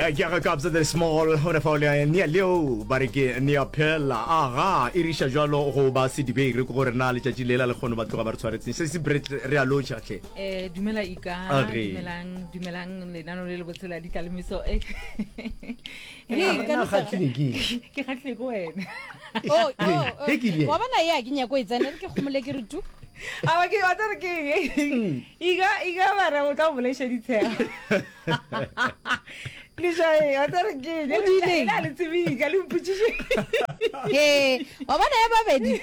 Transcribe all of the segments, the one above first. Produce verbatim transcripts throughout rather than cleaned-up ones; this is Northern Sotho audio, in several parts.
Eh, ke aga Kabza De Small gona fao le Nia Leo ba re ke Nia Phela aga e riša jalo go ba sedibeng re ke gore na letšatši lela le kgono ba tloga ba re tshwaretseng se se Brett re a lotšha hle Eh, dumela ika Age. dumelang dumelang lenano le le botse la ditlalemiso Eh, Hei, ka na nisa- kgatlhile ke eng? ke kgatlhile ke wena Oh, oh, oh. He ke ile. wa bona ye a ke nyako e tsena re ke kgomole ke re tu aba ke wa tsere ke eng ika ika bara o tla bolaiša ditshego lešae wa tsere ke eng O diileng? le a le tsebika le mpotsiše he wa bona ya babedi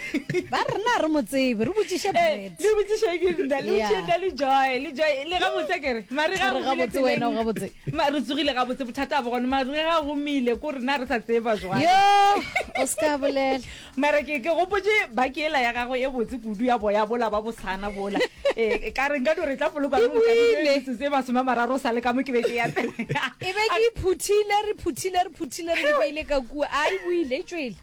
ba re na re mo tsebe re botsiše Eh, Brett le botsiše ke nna le Yeah. botsiše nna le joy le joy le gabotse kere mare ga Re gabotse wena, o gabotse. Ma- re tsogile gabotse bothata bo gone mare ga gomile ko rena re sa tseba jwang yo o se ka bolela mara ke ke gopotse bakela ya gagwe e botse kudu ya boya bola ba bosana bola um ka re nka no re tla poloka E boile. metsotso e masome a mararo o sa le ka mo ke be ke ya e be ke iphuthile re phuthile re phuthile re di beile ka kua a e boile e tswele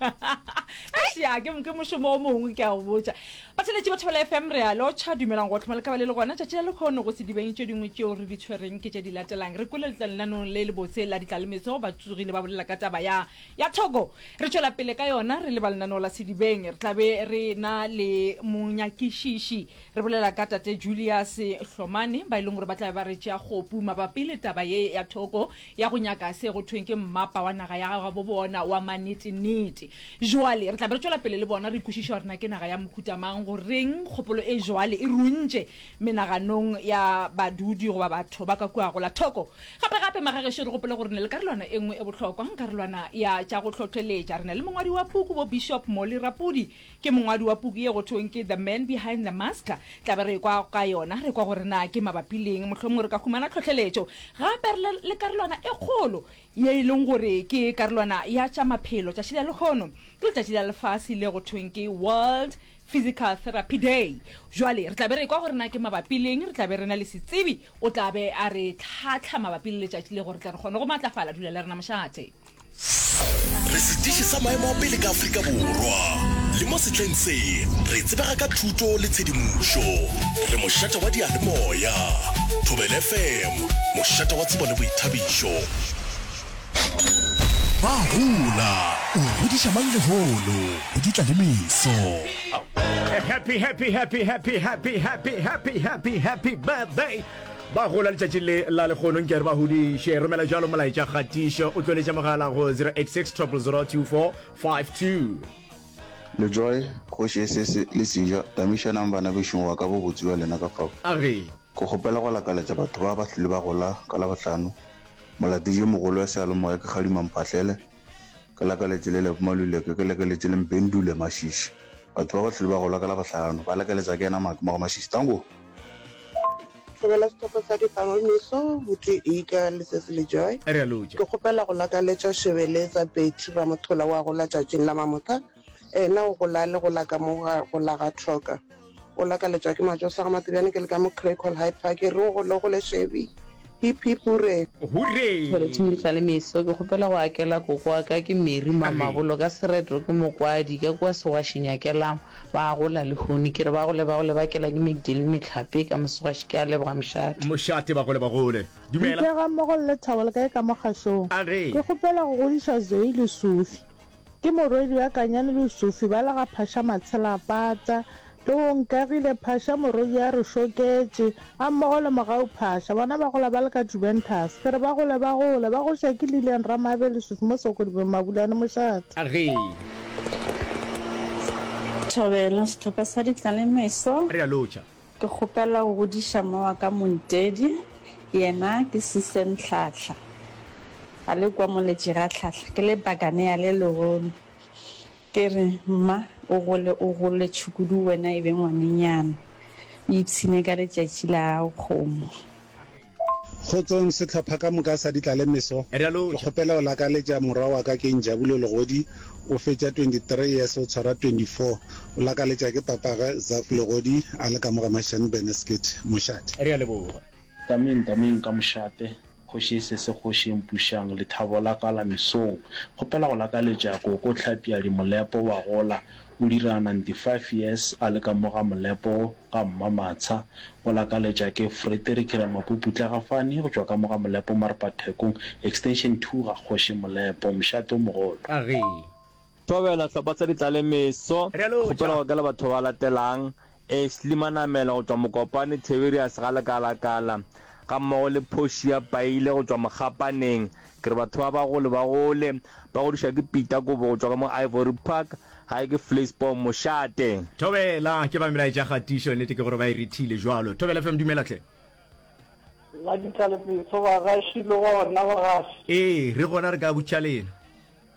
ya ke ke mošomo o mongwe ke a go botša batheletši ba thobela fm re a lotšha dumelang go tlhoma le ka ba le le gona tšatši la lekgono go sedibeng tše dingwe tšeo re di tshwereng ke tše di latelang re kwele letlalenanong le le botse la ditlalemetso ba tsogile ba bolela ka taba ya ya thoko re tšwela pele ka yona re le ba lenaneo la sedibeng re tlabe re na le monyakišiši re bolela ka tate Julius Hlomane ba e leng gore ba tlabe ba re tšea kgopu mabapi le taba ye ya thoko ya go nyaka se go thweng ke mmapa wa naga ya gabo bona wa manetenete jwale re tlabe re tšwela pele le bona re kwešiša gore na ke naga ya mohuta mang goreng kgopolo e jwale e runtše menaganong ya badudi goba batho ba ka kua go la thoko gape gape magagešo re gopole gore ne le karolwana e nngwe e bohlokwa karolwana ya tša go hlohleletša re na le mongwadi wa puku bo Bishop Molly Rapudi ke mongwadi wa puku ye go thweng ke The Man Behind the Mask tlabe re kwa ka yona re kwa gore na ke mabapi leng mohlomongwe re ka humana tlhohleletšo gape re le- le karolwana e kgolo ye e leng gore ke karolwana ya tša maphelo tšatši la lekgono ke letšatši la lefase le go thweng ke World Physical Therapy Day jwale re tlabe re kwa gore na ke mabapi leng re tlabe re na le setsebi o tlabe a re tlhatlha mabapi le letšatši le gore tla re kgone go matlafala dula le rena mošate Re setiši sa maemo a pele ka Afrika Borwa. Le mo sehleng se, re tsebega ka thuto le tshedimošo. Re mošate wa diyalemoya. Thobela F M, mošate wa tsebo le boithabišo. Ba gola, o godiša mang lehono go di tlalemeso? Happy happy happy happy happy happy happy happy happy birthday ba gola letšatši le la lekgono nke re ba godiše romela jalo molaetša kgatišo o tloletša mogala go zero eight six zero zero zero two four five two. Lejoy, kgoši e sese le seja, tamišanang bana bešong wa ka bobotse bja lena ka fao. Age. Ke kgopela go lakaletša batho ba ba hlile ba gola ka Labohlano. Molatedi yo mogolo wa seyalemoya ke Kgadima Mphahlele. Ke lakaletše le Lebo Maluleke, ke lakaletše le Mpendule Mashishi. Batho ba ba hlile ba gola ka Labohlano, ba lakaletša ke yena Maake Moga Mashishi. Tango! Thobela sehlopha sa Ditlalemeso, Buti Ika le Sesi Lejoy. Re a lotša. Ke kgopela go lakaletša Shebeletsa Betty Ramothola wa gola tšatšing la Mamotha. Ena o gola le gola ka mo ga gola ga Troka. O lakaletšwa ke Majosa ga Matebjane ke le ka mo Craighall Hyde Park. Re o gole gole Shebi. Hip hip hooray. Hooray! Thobela Ditlalemeso, ke kgopela go akela koko wa ka ke Mary Mamabolo ka sereto ke mokwadi ka kua Segwaši Nyakelang ba gola lehono ke re ba gole ba gole ba kela ke Magdalene Mehlape ka Mosegwaši ke a leboga mošate. Mošate ba gole ba gole. Dumela. Mphe gammogo le lethabo le kae ka mo kgašong. Age. Ke kgopela go godiša Zoe le Sophie. Ke morwedi wa Kanyane le Sophie ba le ga Phasha Matshelapata le go Nkagile Phasha morwedi a re šoketše gammogo le Mogau Phasha. Bona ba gola ba le ka Juventus. Ke re ba gole ba gole ba goša ke Lilian Ramabe le Sophie mo Sokodibeng Mabulane Mošate. Age. Thobela sehlopha sa Ditlalemeso. Re a lotšha. Ke kgopela go godiša mma wa ka Montedi, yena ke Susan Hlahla. A le kwa Moletši ga Hlahla, ke le Bakanea le legolo. Ke re mma o gole o gole tšhukudu wena e be ngwanenyana. O ipshine ka letšatši la gago kgomo. Kgotsong sehlopha ka moka sa Ditlalemeso, Re a ke lotšha. kgopela go lakaletša morwa wa ka ke Njabulo Legodi, o fetša twenty three years o tshwara twenty four, o lakaletša ke papagwe Zaf Legodi a le ka mo ga Mashane Beneskit, mošate. Re a leboga. Tameng, tameng ka mošate, kgoši e sese kgoši e mpušang, lethabo la ka la mesong. Kgopela go lakaletša koko Hlapiadi Molepo wa gola, O dira ninety five years a le ka mo ga Molepo ga Mmamatsha. O lakaletša ke Frederick Ramapuputla Gafane go tšwa ka mo ga Molepo Marpathekong Extension two ga Kgoši Molepo. Mošate o mogolo. A re. Thobela, Hlopha sa Ditlalemeso, Re a lotša. Kgopela go akela batho ba latelang, Ashley Manamela go tšwa Mokopane, Tiberius ga Lekalakala, gammogo le Portia Paile go tšwa Mokgapaneng. Ke re batho ba ba gole ba gole, ba godišwa ke Peter Kobo go tšwa ka mo Ivory Park, gae ke Vleisboom, mošate. Thobela, ke ba melaetša kgatišo, nnete ke gore ba e rethile jwalo. Thobela F M dumela hle. La Ditlalemeso bagaši le gona bagaši. Ee, re gona re ka butša lena.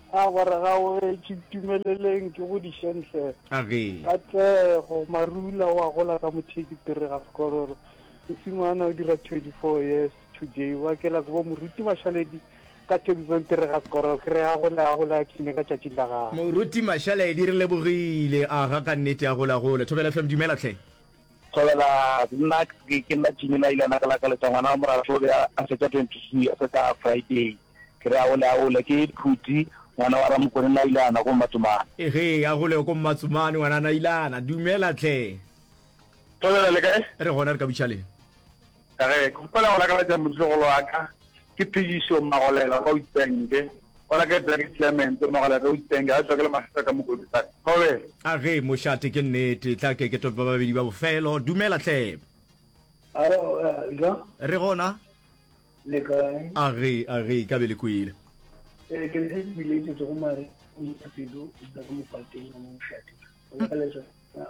A gore ga o etše tumeleleng ke go dišentle. A ge. Katlego Marula wa gola ka mothekitiri ga sekororo. Mosimana o dira twenty four years today. Wa kela ke bo Moruti Mashaledi ka Thekisong Tiri ga sekororo. Ke re a gole a gole a ipshine ka tšatši la gagwe. Moruti Mashaledi re lebogile. Aga ka nnete a gole a gole. Thobela F M dumela hle. Thobela nna ke ke nna Jimmy Lailana ka lakaletša ngwana wa moratho o be a fetša twenty two years ka Friday. Ke re a gole a gole ke Phuti ngwana wa Ramokone Nailana ko Mmatsomane. Ege a gole ko Mmatsomane ngwana Nailana. Dumela hle. Thobela le kae? Re gona re ka butša leng? Ka ge ke kgopela go lakaletša motlogolo wa ka ke Phidišo Magolela kwa Witbank. O lakaletša ke Clement Magolela ka Witbank a tšwa ke le Mašata ka Mokolobisane. Thobela. A ge mošate ke nnete. Tla ke ke tope ba babedi ba bofelo. Dumela hle. Alo, eh, jwang? Re gona. Le kae? A ge, a ge, ka be le kwele. Eh, ke le biletše go mare o ya pelo o dula ka mopateng wa mošate. O lakaletša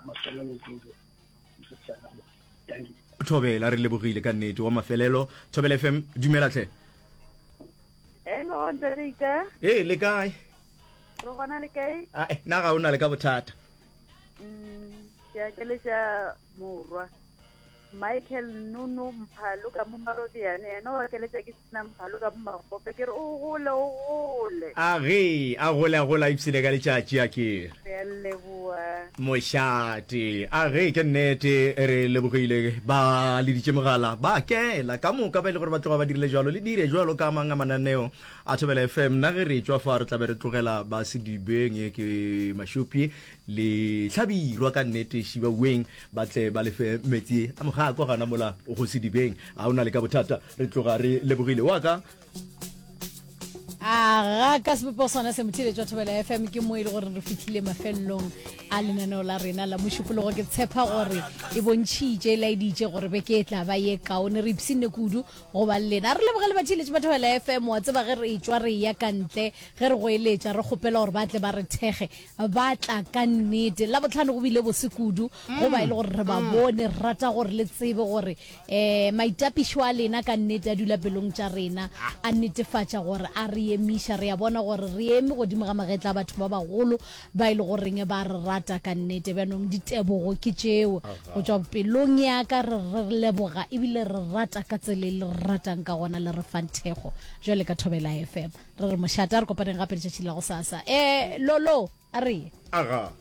maswalo le kudu. Thank you. Thobela re lebogile ka nnete wa mafelelo. Thobela F M dumela hle. Hello, Ntarika. Ee, le kae? Re gona le kae? Ah, eh, na ga o na le ka bothata. Mm, ke akeletša morwa. Michael Nunu Mphalo ka mo Marobiane, yena o akeletša ke Sina Mphalo ka mo Magope. Ke re o gole, o gole. A ge, a gole, a gole, a ipshine ka letšatši a ke. Re a leboha. Mošate. A ge, ke nnete, re lebogile. Ba leditše mogala, ba kela. Ka moka ba e le gore ba tloga ba dirile jwalo, le dire jwalo ka mang a mananeo a Thobela F M. Nna ge re tšwa fa, re tla be re tlogela ba Sedibeng, ke Mašopje le Hlabirwa ka nnete, Šibaweng, ba tle ba lefe metsi a mogako gana mola go Sedibeng. A o na le ka bothata, re tloga re lebogile. Wa ka. Aga, ka sebopego sona se motheeletši wa Thobela F M, ke mo e le gore re fihlile mafelelong a lenaneo la rena la mošupologo. Ke tshepa gore e bontšhitše, e laeditše gore beke e tla ba ye kaone. Re ipshinne kudu go ba le lena. Re lebogele batheeletši ba Thobela F M. Wa tseba ge re etšwa re eya ka ntle, ge re goeletša re kgopela gore ba tle ba re thekge, ba tla ka nnete. Labohlano go bile bose kudu go ba e le gore re ba bone. Re rata gore le tsebe gore um maitapišo a lena ka nnete a dula pelong tša rena, a netefatša gore a re emiša. Re a bona gore re eme godimo ga magetla a batho ba bagolo ba e le goreng ba re rata ka nnete. Bjanong ditebogo ke tšeo go tšwa pelong ya ka, re re leboga ebile re rata ka tsela e le re ratang ka gona, le re fang thekgo jwale ka Thobela F M. Re re mošate, a re kopaneng gape letšatši la go sasa. Eh, Lolo, a re ye. Aga.